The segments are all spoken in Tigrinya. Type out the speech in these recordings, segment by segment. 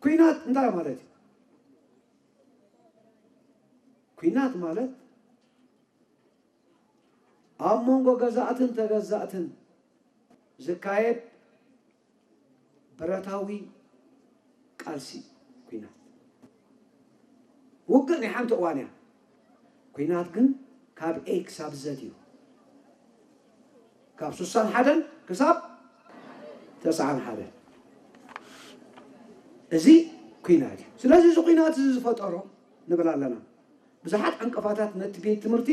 ኲናት እንታይ ማለት እዩ? ኲናት ማለት ኣብ መንጎ ገዛእትን ተገዛእትን ዝካየድ ብረታዊ ቃልሲ ኲናት። ውግእ ናይ ሓንቲ እዋን እያ። ኲናት ግን ካብ ኤ ክሳብ ዘድ እዩ። ካብ ስሳን ሓደን ክሳብ ተስዓን ሓደን። እዚ ኲናት እዩ። ስለዚ እዚ ኲናት እዚ ዝፈጠሮ ንብል ኣለና። ብዙሓት ዕንቅፋታት ነቲ ቤት ትምህርቲ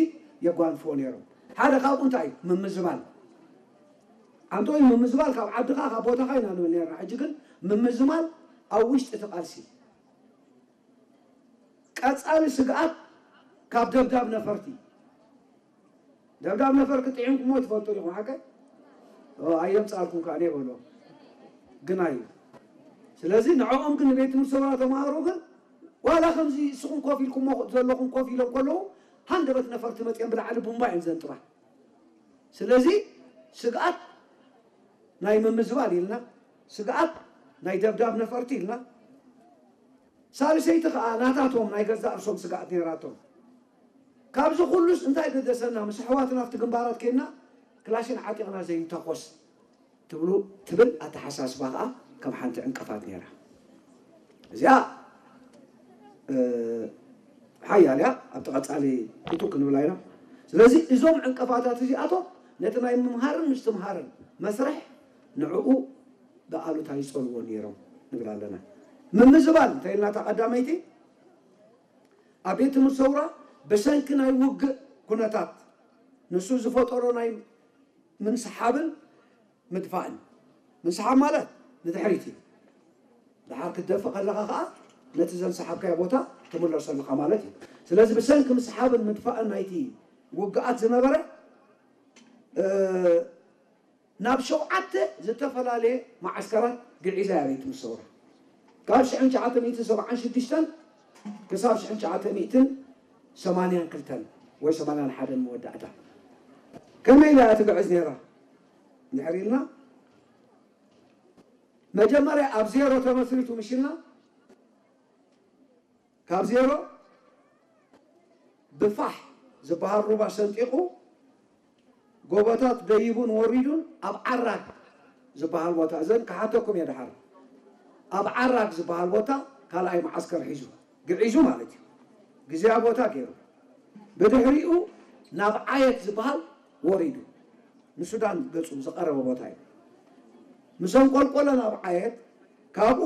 የጓንፍዎ ነይሮም። ሓደ ካብኡ እንታይ እዩ? ምምዝባል። ኣንቶኒ፣ ምምዝባል ካብ ዓድኻ ካብ ቦታኻ ኢና ንብል ነርና። ሕጂ ግን ምምዝባል ኣብ ውሽጢ እቲ ቃልሲ። ቀጻሊ ስግኣት ካብ ደብዳብ ነፈርቲ። ደብዳብ ነፈርቲ ጥዒምኩሞ ትፈልጡ ዲኹም ሓቀ? ኦ፣ ኣየምጻልኩም ከኣ እኔ በሎ። ግን ኣዩ። ስለዚ ንዕኦም ግን ንቤት ትምህርቲ ሰውራ ተማሃሮ ግን ዋላ ከምዚ እስኹም ኮፍ ኢልኩሞ ዘለኹም ኮፍ ኢሎም ከለዉ ሃንደበት ነፈርቲ መጽኦም ብላዕሊ ቡምባ እዮም ዘንጥባ። ስለዚ ስግኣት ናይ ምምዝባል ኢልና፣ ስግኣት ናይ ደብዳብ ነፈርቲ ኢልና፣ ሳልሰይቲ ከኣ ናታቶም ናይ ገዛእ ርእሶም ስግኣት ነይራቶም። ካብዚ ኩሉስ እንታይ ገደሰና? ምስ ኣሕዋትና ኣብቲ ግንባራት ኬድና ክላሽን ዓጢቕና ዘይንተኮስ ትብሉ ትብል ኣተሓሳስባ ከኣ ከም ሓንቲ ዕንቅፋት ነይራ። እዚኣ ሓያል እያ። ኣብቲ ቀጻሊ እቱ ክንብላ ኢና። ስለዚ እዞም ዕንቅፋታት እዚኣቶም ነቲ ናይ ምምሃርን ምስትምሃርን መስርሕ ንዕኡ ብኣሉታ ይጸልዎ ነይሮም ንብል ኣለና። ምምዝባል እንተኢልና እታ ቀዳመይቲ ኣብ ቤት ትምህርቲ ሰውራ ብሰንኪ ናይ ውግእ ኩነታት ንሱ ዝፈጠሮ ናይ ምንስሓብን ምድፋእን። ምንስሓብ ማለት ንድሕሪት እዩ። ደሓር ክትደፍእ ከለኻ ከዓ ነቲ ዘንሰሓብካዮ ቦታ ትምለሶ ኣለኻ ማለት እዩ። ስለዚ ብሰንኪ ምስሓብን ምድፋእን ናይቲ ውግኣት ዝነበረ ናብ ሸውዓተ ዝተፈላለየ መዓስከራት ግዒዛ እያ ቤት ምሰውራ። ካብ ሽሕን ትሽዓተ ሚእትን ሰብዓን ሽዱሽተን ክሳብ ሽሕን ትሽዓተ ሚእትን ሰማንያን ክልተን ወይ ሰማንያን ሓደን መወዳእታ። ከመይ ኢላ እያ ትግዕዝ ነይራ? እንድሕር ኢልና መጀመርያ ኣብ ዜሮ ተመስሪቱ ምሽና ካብ ዜሮ ብፋሕ ዝበሃል ሩባ ሰንጢቑ ጎቦታት ደይቡን ወሪዱን ኣብ ዓራግ ዝበሃል ቦታ፣ እዘን ክሓተኩም እየ ደሓር። ኣብ ዓራግ ዝበሃል ቦታ ካልኣይ መዓስከር ሒዙ ግዒዙ ማለት እዩ። ግዜያ ቦታ ገይሩ ብድሕሪኡ ናብ ዓየት ዝበሃል ወሪዱ ንሱዳን ገጹ ዝቐረበ ቦታ እዩ። ምስ ኣንቆልቆለ ናብ ዓየት ካብኡ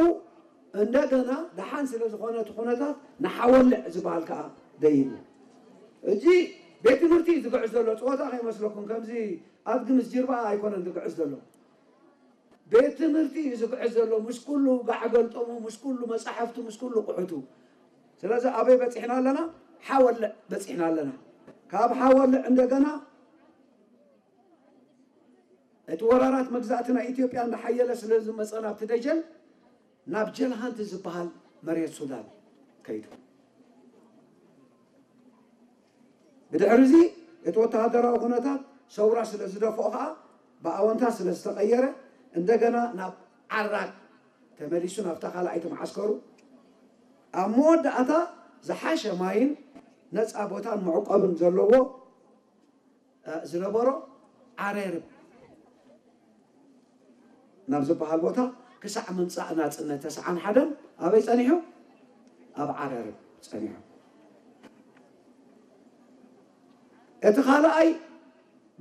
እንደገና ደሓን ስለ ዝኾነ እቲ ኩነታት ንሓወልዕ ዝበሃል ከዓ ደይቡ። እዚ ቤት ትምህርቲ እዩ ዝግዕዝ ዘሎ። ፀወታ ከይመስለኩም፣ ከምዚ ኣድጊ ምስ ጅርባ ኣይኮነን ዝግዕዝ ዘሎ። ቤት ትምህርቲ እዩ ዝግዕዝ ዘሎ፣ ምስ ኩሉ ጋዕ ገልጠሙ፣ ምስ ኩሉ መፃሕፍቱ፣ ምስ ኩሉ ቁሑቱ። ስለዚ ኣበይ በፂሕና ኣለና? ሓወልዕ በፂሕና ኣለና። ካብ ሓወልዕ እንደገና እቲ ወራራት መግዛእቲ ናይ ኢትዮጵያ እንዳሓየለ ስለ ዝመፀ ናብቲ ደጀን ናብ ጀልሃንቲ ዝበሃል መሬት ሱዳን ከይዱ። ብድሕሪ እዚ እቲ ወተሃደራዊ ኩነታት ሰውራ ስለ ዝደፍኦ ከዓ ብኣወንታ ስለ ዝተቐየረ እንደገና ናብ ዓራግ ተመሊሱ ናብታ ካልኣይቲ መዓስከሩ ኣብ መወዳእታ ዝሓሸ ማይን ነፃ ቦታን መዕቆብን ዘለዎ ዝነበሮ ዓረርብ ናብ ዝበሃል ቦታ ክሳዕ ምምፃእ ናፅነት ተስዓን ሓደን ኣበይ ፀኒሑ? ኣብ ዓረርብ ፀኒሑ። እቲ ካልኣይ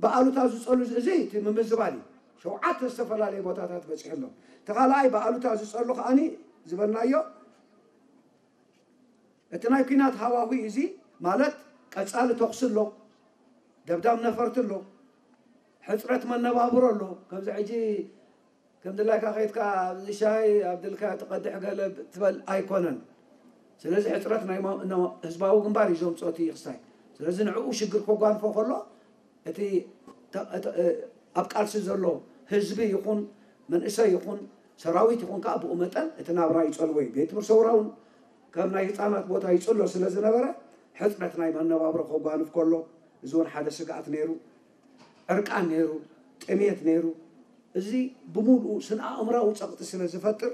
ብኣሉታ ዝፀሉ እዚ እቲ ምምዝባል እዩ። ሸውዓተ ዝተፈላለየ ቦታታት በፂሑ ኣሎ። እቲ ካልኣይ ብኣሉታ ዝፀሉ ከዓኒ ዝበልናዮ እቲ ናይ ኲናት ሃዋሁ እዚ ማለት ቀጻሊ ተኹሲ ኣሎ፣ ደብዳብ ነፈርቲ ኣሎ፣ ሕጽረት መነባብሮ ኣሎ። ከምዚ ሕጂ ከም ድላይካ ከይድካ ኣብዚ ሻሂ ኣብ ድልካ ትቐድሕ ገለ ትበል ኣይኮነን። ስለዚ ሕጽረት ናይ ህዝባዊ ግንባር እዩ ዘምፅኦ እቲ ክስታይ። ስለዚ ንዕኡ ሽግር ከጓንፎ ከሎ እቲ ኣብ ቃልሲ ዘሎ ህዝቢ ይኹን መንእሰይ ይኹን ሰራዊት ይኹን ከዓ ብኡ መጠን እቲ ናብራ ይፀልዎ እዩ። ቤት ትምህርቲ ሰውራ እውን ከም ናይ ህፃናት ቦታ ይፅሎ ስለ ዝነበረ ሕፅረት ናይ መነባብሮ ከጓንፍ ከሎ እዚ እውን ሓደ ስግኣት ነይሩ። ዕርቃን ነይሩ፣ ጥሜት ነይሩ። እዚ ብምሉኡ ስነ ኣእምራዊ ፀቕጢ ስለ ዝፈጥር